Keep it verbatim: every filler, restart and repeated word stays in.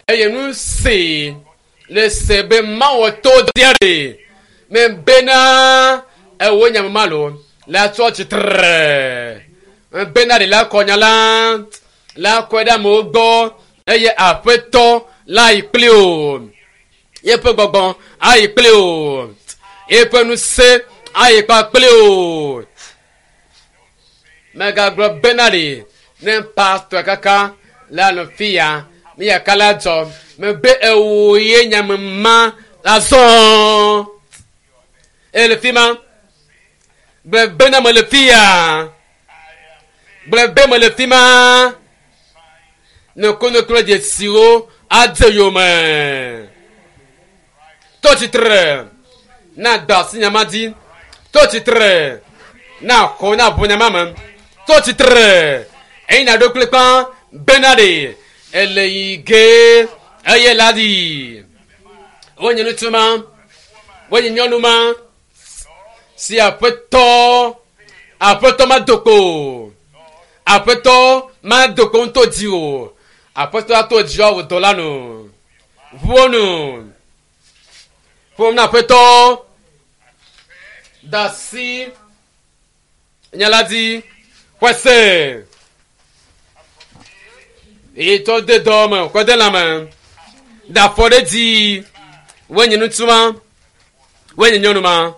Eye nu si le se be mawɔ to dia ɖe me bena ewo nyamama lo la tsɔ tsitre me bena ɖe la kɔ nya la la kɔe ɖe amewo gbɔ eye aƒetɔ la yi kpli o yeƒe gbɔgbɔ ayi kpli o yeƒe ŋusẽ ayi kpakpli o megagblɔ bena ɖe ne pastɔ kaka le anɔ fi ya mi yaka la dzɔ mebe ewo ye nyamema azɔ ele fi ma gblɔ bena mele fi ya gblɔ be mele fi ma nukunu dzesiwo adze yome tɔ tsitre na da asi nyama dzi tɔ tsitre na xɔ na ʋu nyama me tɔ tsitre eyi na ɖo kple kpa bena ɖe ele yi ge eye la ɖi wonye ŋutsu ma wonye nyɔnu ma si aƒetɔ aƒetɔ ma do kpo aƒetɔ ma do kpo ŋutɔ dzi o aƒetɔ ato dzi awɔ dɔ la nu ʋuwo nu ƒom na aƒetɔ da asi nya la dzi xɔse etɔ de dɔ me kɔ de lãme da afɔ ɖe dzi wonye ŋutsu ma wonye nyɔnu ma